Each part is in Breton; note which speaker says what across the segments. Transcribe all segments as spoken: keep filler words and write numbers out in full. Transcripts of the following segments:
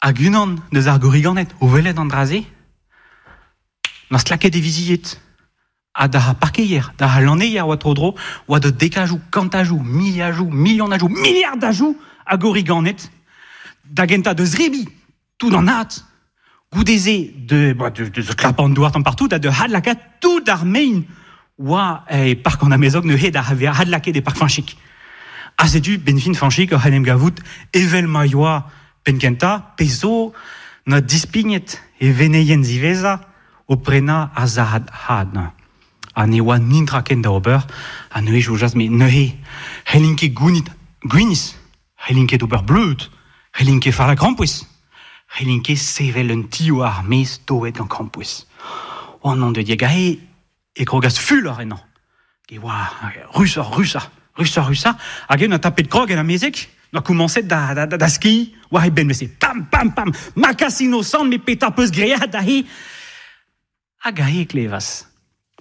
Speaker 1: Hag unan deus ar gorriganed o welet an dra-se, na stlaket e vizied. Ha da parkeier, da lanneier oa tro-dro, oa de dekajou, kantajou, miliajou, milionajou, miliardajou a gorriganed, da genta deus rebi, tout an at, goudeze de, ba, de, de, de klapan douar tamm partout, da de hadlakat tout ar mein oa e park an amezog neuze da hadlaket e park Fanchik. Ha setu ben fin Fanchik oc'h en em gavout evel ma yoa penkenta, pezo na dispignet e veneien ziveza o prena a zahad had. Ha ne oa nintra ken da ober, ha neuze joujaz, me neuze c'hellin ket gounit gwiniz, c'hellin ket ober bleud, c'hellin ket far la krampouezh, c'hellin ket sevel un tio ar mez toet gant krampouezh. Oh non de dieg ae, e krogas fulor ennañ. E oa rusoc'h, rusoc'h, rusoc'h, rusoc'h, hag en a tapet krog en amezek, na komañset da, da, da, da ski, war e benn mese, pam, pam, pam, ma kas innocent, me peta peus great da he. Hag ae e klevas.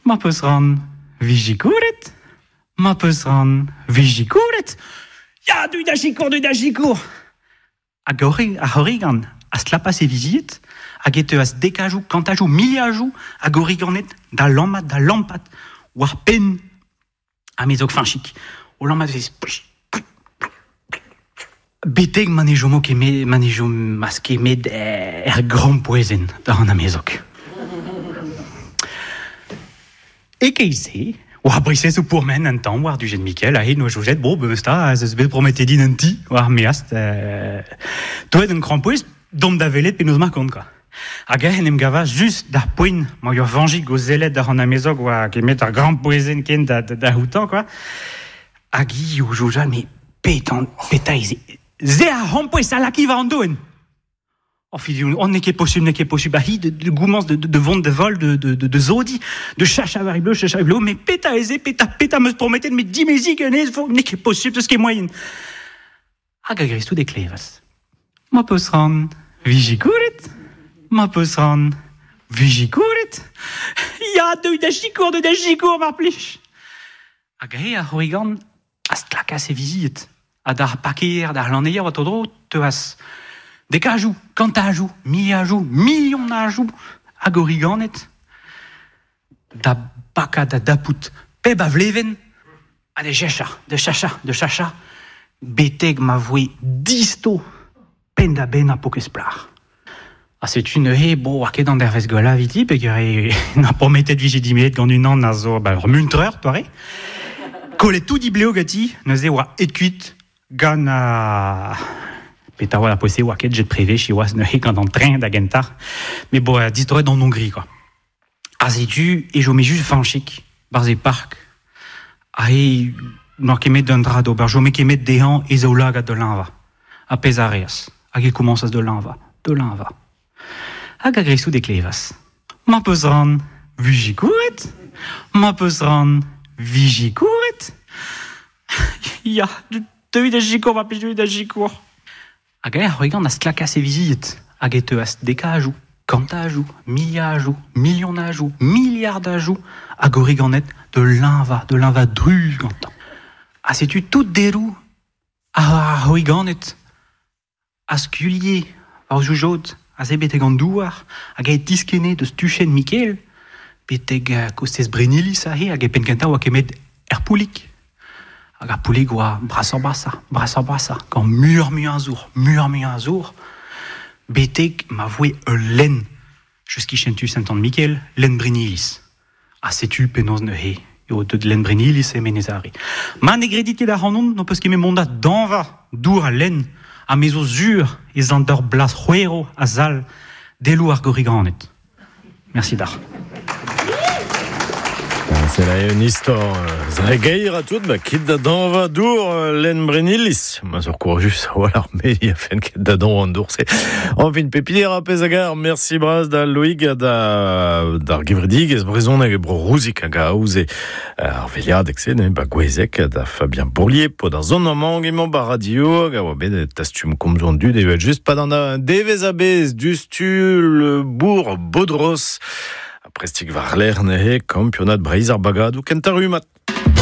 Speaker 1: Ma peus ran vijikouret, ma peus ran vijikouret. Ya, du da sikour, du da sikour. Hag ar c'horrigan a stlapas e vizied, hag e teuas dekajou, kantajou, miliajou a gorriganed da lammat, da lampat, war penn amezog Fanchik. O lammat vez betek ma ne jomo ket me, ma ne jomas ket met er grampouezhenn da an amezog. E keit-se, oa brisez o pourmen an tamm war dujet Mikel, ahe noa joujet, bon, be sta, ez eus bet prometet din un ti, war meast, euh, toet un krampouezh, dom da velet penaos ma kont, quoi. Hag en em gava just d'ar poent ma ur vanjik o zellet d'ar an amezog oa kemet ar grampouezhenn ken da, da, da houtan, quoi. Hag i o jouja, me petan, peta ze, ze ar c'hrampouezh a laki war an doen. Oh, fidiou, on n'est ket possible, n'est ket possible. Hi, de, de goumans, de, de, de vont de vol, de, de, de, de zodi, de chacha war bleu, chacha bleu, mais peta eze, peta, peta meus prometet, mais dimezi genez, n'est ket possible, ce qui est moyen. Hag a gris tout e klevas. Ma peus ran, vijikouret, ma peus ran, vijikouret. Ya, deuit da sikour, deuit da sikour, mar plij. Hag ae ar c'horrigan a stlakas e vizied. Ha d'ar parkeier, d'ar lanneier, oa tro-dro, teuas dekajou, kantajou, miliajou, milionajou hag origanet da baka da dapout peb a vleven ha de checha, de chacha, de chacha, beteg ma voe disto pen da ben a pokez plar. Ha setu neuze, bo, war ket an dervez gwella viti, peogwir e na prometet vije dimeet gant unan a zo, ba, ur muntreur, toare. Kollet tout dibleo gati, neuze oa et kuit gant a... Peta oa la poese oa ket jet privé chi oaz neuze gant an train da gentar. Mais bo, distroet d'an Hongrie, quoi. Ha setu, e jome just Fanchik, barz e park. Ha e n'oa ket met d'un dra d'ober, jome ket met dezhañ e zaoulagad de l'inva. Ha pezh a reas. Hag e komañsas de l'inva, de l'inva. Hag a grisou de klevas. Ma peus ran vijikouret, ma peus ran vijikouret. Ya, deuit da sikour, ma plij deuit da sikour. Hag ar c'horrigan a stlakas e vizied, hag e teuas dekajou, kantajou, miliajou, milionajou, miliardajou hag origanet de l'inva, de l'inva druz gantañ. Ha setu tout derou ar c'horriganed a skulie war joujod, a ze betek an douar, hag e tiskene deus tuchenn Mikel, betek kostez Brenilis ahe, hag e penn kentañ oa kemet er poulik. Hag ar poulig oa brasoc'h brasa, brasoc'h brasa, gant muioc'h muiañ a zour, muioc'h muiañ a zour, betek ma voe ul lenn, just kichen tu Saint-Anne-Mikel, lenn Brenilis. Ha setu penaos neuze, eo deut lenn Brenilis e Menez-Are. Ma ne gredit ket ac'hanon, n'ho peus ket met mont da dañva dour al lenn, ha me zo zur ez an d'ur blas c'hwero a zal delou ar gorriganed. Merci d'ar.
Speaker 2: C'est là une histoire zregeir a tout, ba kit da dañva dour len Brenilis. Ma sur courajus, voilà, mais il a fait ket da dañva an dour, c'est enfin pepinier a pez agar, merci braz da Loïg da d'ar gevredig ez brezhoneg e bro rouzik hag a aoze ar veliad ekse, ne, ba gwezek da Fabien Bourlier, pod ar zon amang emañ ba radio, hag a oa bet tastum komzo an dud evel just pa d'an devez a bez dustu le bourg Bodros. Prestik war ler nehe kampionad Breizh ar bagadou kentañ rummad.